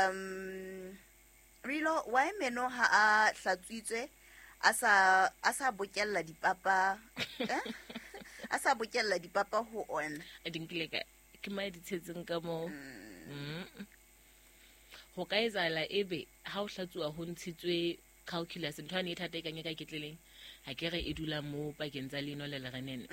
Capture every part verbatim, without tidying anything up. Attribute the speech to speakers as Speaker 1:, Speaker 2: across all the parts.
Speaker 1: Um Rilo, why meno ha a hlatswitswe a sa a sa bokella dipapa eh? A sa bokella dipapa ho ona.
Speaker 2: A di nkile ka ke mae di tshetseng ka moo. Mm. Ho ka etsahala ebe ha o hlatsuwa ho ntshitswe calculus ntho ane e thata e kang e ka ketleleng. Ha ke re e dula mo pakeng tsa leino le lerenene.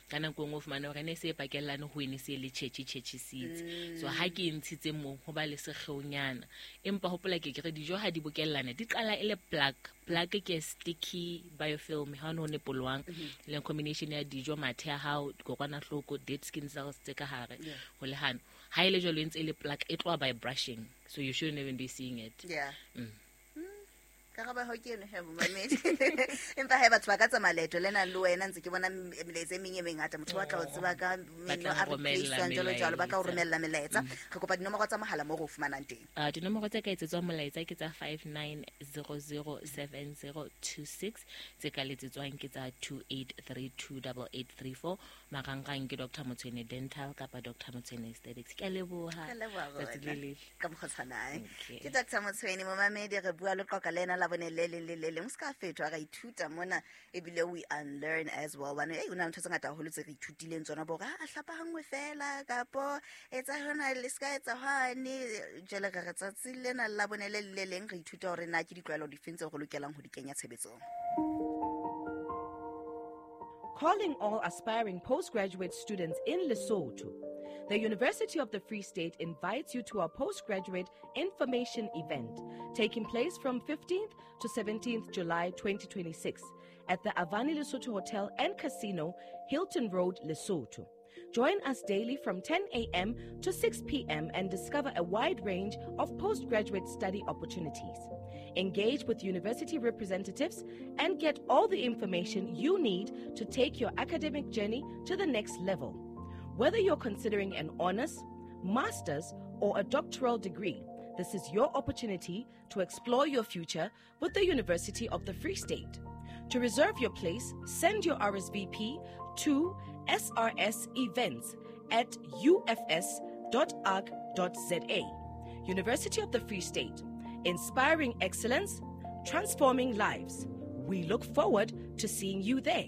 Speaker 2: Ka nako e nngwe o fumane hore ne se e pakellane ho ene se le tjhetjhe tjhetjhisitse. So ha ke e ntshitse moo ho ba le sekgeonyana. Empa hopola ke ke re dijo ha di bokellane di qala e le plaque. Plaque ke sticky biofilm ha o ne polwang le combination ya dijo mathe a hao dikokwanahloko dead skin cells tse ka hare ho le hano. Ha e le jwalo e ntse e le plaque e tloha by brushing, so you shouldn't even be seeing it.
Speaker 1: Yeah.
Speaker 2: Mm.
Speaker 1: Karabo ho ke eno he momamedi. Empa hae batho ba ka tsamaya leeto lena le wena ntse ke bona melaetsa e meng e mengata motho wa tla o tseba ka meno a replace jwalo jwalo ba tla o romella melaetsa. Re kopa dinomoro tsa mohala mo re o fumanang teng.
Speaker 2: Ah dinomoro tse ka etsetswang molaetsa ke tsa five nine zero zero seven zero two six, tse ka letsetswang ke tsa two eight three two eight eight three four. Marangrang ke Doctor Motshwene Dental kapa Doctor Motshwene Aesthetics. Ke a leboha.
Speaker 1: Ke a leboha
Speaker 2: Tsatsi le letle.
Speaker 1: Ka mokgwa o tshwanang.
Speaker 2: Okay.
Speaker 1: Ke Doctor Motshwene momamedi re bua le qoqa le ena la bone le leng le le leng. O ska fetwa ra ithuta mona ebile we unlearn as well. Bane ei o na le ntho tse ngata haholo tse re ithutileng tsona bo re a hlapa hangwe fela kapo etsa hona le ska etsa hwane. Jwale re re tsatsi lena la bone le le leng re ithuta hore na ke ditlwaelo difeng tseo re lokelang ho di kenya tshebetsong.
Speaker 3: Calling all aspiring postgraduate students in Lesotho. The University of the Free State invites you to our postgraduate information event taking place from fifteenth to seventeenth July twenty twenty-six at the Avani Lesotho Hotel and Casino, Hilton Road, Lesotho. Join us daily from ten a.m. to six p.m. and discover a wide range of postgraduate study opportunities. Engage with university representatives and get all the information you need to take your academic journey to the next level. Whether you're considering an honors, master's, or a doctoral degree, this is your opportunity to explore your future with the University of the Free State. To reserve your place, send your R S V P to S R S events at U F S dot org dot Z A. University of the Free State, inspiring excellence, transforming lives. We look forward to seeing you there.